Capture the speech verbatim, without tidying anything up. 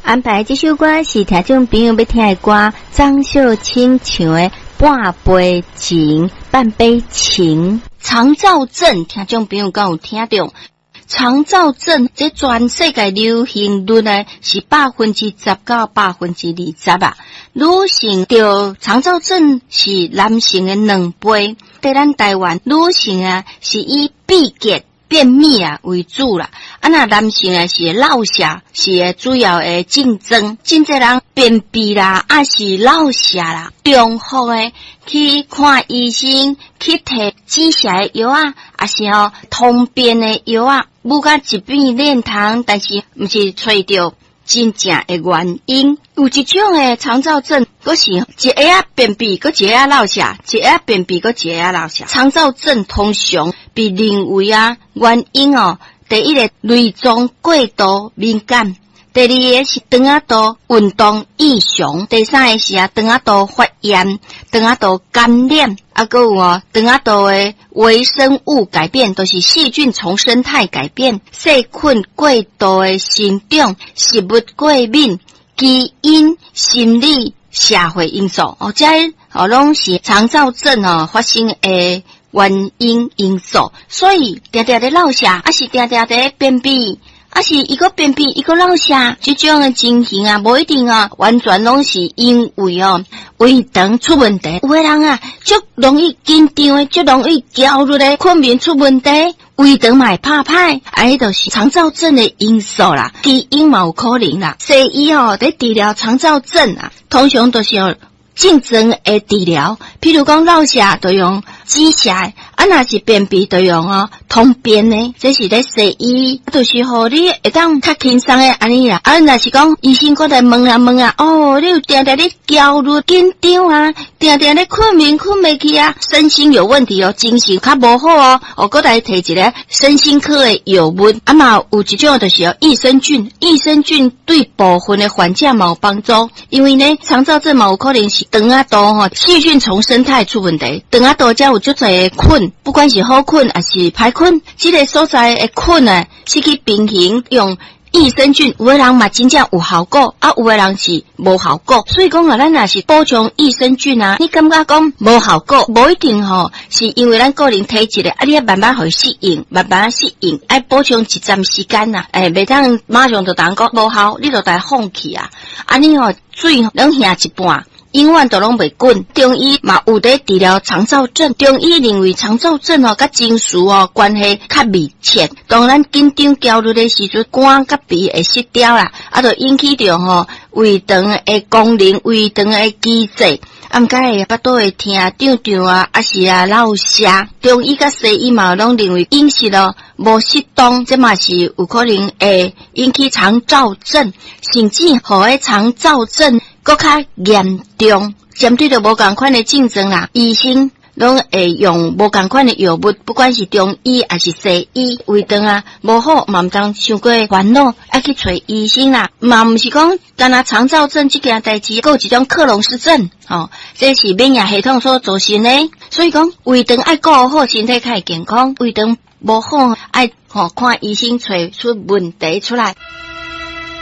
安排這首歌是聽眾朋友欲聽的歌，張秀清唱的《半杯情》，半杯情。腸躁症，聽眾朋友敢有聽著？腸躁症，這全世界流行率呢是百分之十到百分之二十啊。女性著腸躁症是男性的兩倍。佇咱台灣，女性啊是以秘結便秘啊為主啦。啊，若男性啊是落瀉，是主要的症狀。真濟人便秘啦，抑是落瀉啦，重複的去看醫生，去提止瀉的藥仔，抑是吼通便的藥仔，母甲一變練湯，但是毋是揣著真正的原因。有一種的腸躁症，閣是一下仔便秘，閣一下仔落瀉，一下仔便秘，閣一下仔落瀉。腸躁症通常被認為啊，原因哦，第一个內臟過度敏感，第二个是腸仔道運動異常，第三个是啊腸仔道發炎、腸仔道感染，啊，閣有哦腸仔道的微生物改變，都是細菌叢生態改變、細菌過度的生長、食物過敏、基因、心理、社會因素，哦，這哦攏是腸躁症哦發生的原因因素。所以定定咧落瀉，抑是定定咧便秘，抑是伊閣便秘，伊閣落瀉，這種的情形啊，無一定啊，完全攏是因為哦胃腸出問題。有的人啊，足容易緊張的，足容易焦慮的，睏眠出問題，胃腸嘛會拍歹，啊，彼就是腸躁症的因素啦。基因嘛有可能啦。西醫吼佇治療腸躁症啊，通常都是用症狀的治療，譬如講落瀉就用止瀉，啊，若是便秘就用哦通便的，這是咧西醫，就是予你會當較輕鬆的按呢啦。啊，若是講醫生閣來問啊問啊，哦，你有定定咧焦慮緊張啊，定定咧睏眠睏袂去啊，身心有問題哦，精神較無好哦，哦，閣來提一个身心科的藥物。啊嘛，有一種就是哦益生菌，益生菌對部分的患者嘛有幫助，因為呢，腸躁症嘛有可能是腸仔道吼細菌叢生態出問題，腸仔道才有足濟的菌，不管是好菌抑是歹菌，這个所在的菌呢，失去平衡，用益生菌，有的人嘛真正有效果，啊，有的人是無效果。所以講啊，咱若是補充益生菌啊，你感覺講無效果，無一定吼，是因為咱個人體質的，啊，你愛慢慢予伊適應，慢慢適應，愛補充一陣時間啦，欸，袂當馬上就當講無效，你就來放棄啊，按呢吼水攏瓦一半。永遠都攏袂滾。中醫嘛有佇治療腸躁症，中醫認為腸躁症哦，佮情緒哦關係較密切。當咱緊張焦慮的時陣，肝佮脾會失調啦，啊，就引起著吼胃腸的功能、胃腸的機制，啊，毋過會腹肚會疼、脹脹啊，抑是啊落瀉。中醫佮西醫嘛攏認為飲食哦無適當，這嘛是有可能會引起腸躁症，甚至予彼腸躁症閣較嚴重，針對著無仝款的症狀啦，醫生攏會用無仝款的藥物，不管是中醫抑是西醫，胃腸啊無好嘛毋通傷過煩惱，愛去揣醫生啦。嘛毋是講干焦腸躁症這件代誌，閣有一種克隆氏症，吼，這是免疫系統所造成的。所以講胃腸愛顧好，身體較會健康；胃腸無好，愛吼看醫生揣出問題出來。